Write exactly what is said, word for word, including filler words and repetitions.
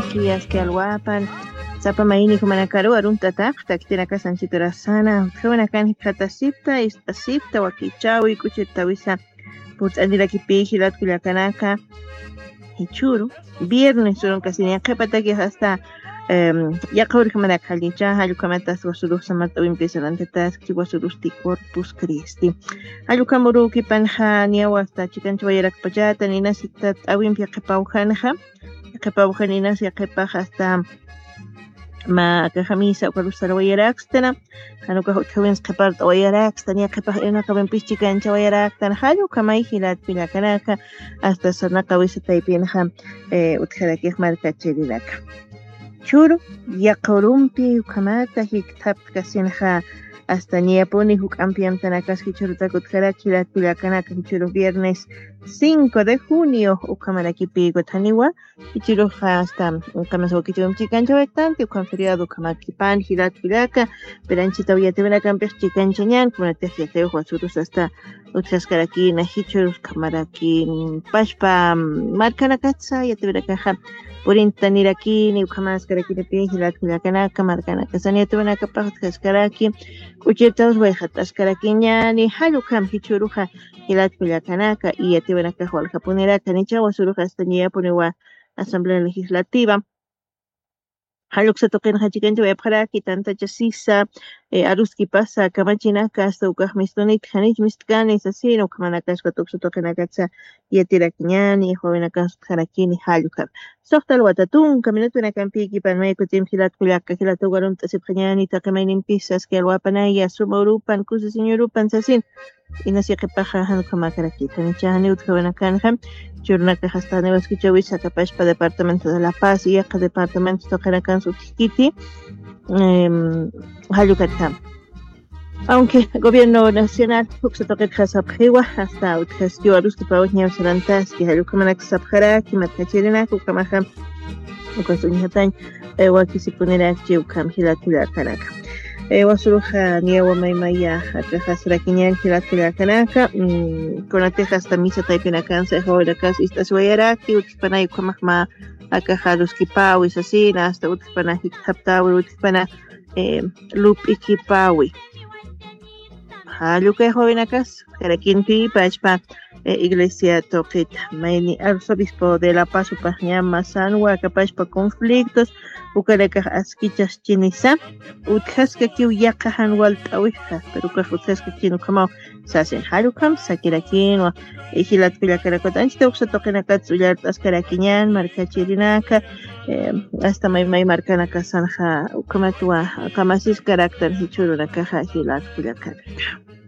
Aski, aski alwapan, sapa mayni jumanakaru arunt'atapxta, khitinakasan chiturasana, utjawinakan jikxatasipta, ist'asipta, wakichawi, k'uchirtawisa, purt'anirakipi, jilat kullakanaka, jichhuru, viernes, urunkasin yaqhipataki hasta, em, yaqha urjamanak jallicha, jallukamatas wasurux samart'awimpi sarantataski, wasurusti Corpus Christi. Jallukam urukipanxa, niyaw hasta chikanchawayarakpachata, ninasita t'awimpi yaqhipawjanxa, qhipawaxaninas yaqhipax hasta mä akaxamisa ukarus sarawayarakstana, jan ukax utjawins qhipart'awayarakstana, yaqhipax irnaqawimpis chikanchawayaraktan, jall ukhamay jilat kullakanaka, hasta sarnaqawisa taypinxa, eh, utjarakix markachirinaka. Chhuru, yaqha urumpi ukhamata jikthapkasinxa, hasta niyapuni juk'ampi amtanakas jichhurutak utjarak jilat kullakanaka, jichhuru viernes cinco de junio ukhamarakipi kutaniwa, jichhürux hasta, ukamas wakichawimp chikanchawayaktanti, ukham feriado ukhamakipan, jilat kullaka, piranchitaw yatiwinakampix chikanchañan, kunatix yatiwix wasurus hasta utjaskarakina, jichhürus ukhamarakin, pachpa, markanakatsa yatiwinakaxa, purintanirakini, ukhamaskarakinipi, jilat kullakanaka, markanakasan yatiwinakapax utjaskaraki, k'uchirtaws wayxataskarakiñani, jall ukham jichhüruxa, jilat kullakanaka, y yatiwinakax waljapuniraka, nicha wasurux hasta niyapuniwa Asamblea Legislativa. Jall uksa tuqinxa chikanchawayapxaraki, tantacha sisa, eh, aruskipasa, kamachinaka, hasta ukax mistunit, janich mistkani, sasina, ukhamanakaspa tuksa tuqinakatsa, yatirakiñani, wawinakas utjarakini, jall ukham. Suxta alwata tunka minutwinakampïkipan, may kutimp jilat kullaka, jilat ukarunt'asipxañani, taqi maynimpis aski alwapanaya, suma urupan, kusisin urupan, sasin, inas yaqhipaxa jan ukhamäkarakita, nicha janiw utjawinakanxa, chhürunakax hasta janiw askichawisa, aka pachpa departamento de La Paz, yaqha departamento tuqinakansa utjkiti, em, jall ukatjam. Aunque gobierno nacional, uksa tuqitxa sapxiwa, hasta utjaskiw aruskipaw ñaw sarantaski, jall ukhamanak sapxaraki, markachirinaka, ukhamaxa, ukas uñjatañ, eh, wakisipunirakchi ukham jilat kullakanaka. Eh, wasuruxa niyawa maymaya, akaxasrakiñan jilat kullakanaka, mm, kunatix hasta misa taypinakansa, wawinakas ist'asiwayaraki, utjpanay ukhamax mä, akax aruskipawi, sasina, hasta utjpana jikthaptawi, utjpana, eh, lup'ikipawi. Jall ukay wawinakas, karakimpi pachpa, eh, iglesia tuqita, mayni arzobispo de La Paz upaxñama sanwa, aka pachpa conflictos, ukanakax askichaschinisa, utjaskakiw yaqha jan walt'awixa, pero ukax utjaskakchin ukhamaw, sasin jall ukham, sakirakinwa, eh, jilat kullakanakat, anchita uksa tuqinakat, ullart'askarakiñan, markachirinaka, eh, hasta may, may markanakasanxa, ukhamatwa, kamasiskaraktan, jichhürunakaxa, jilat kullakanaka.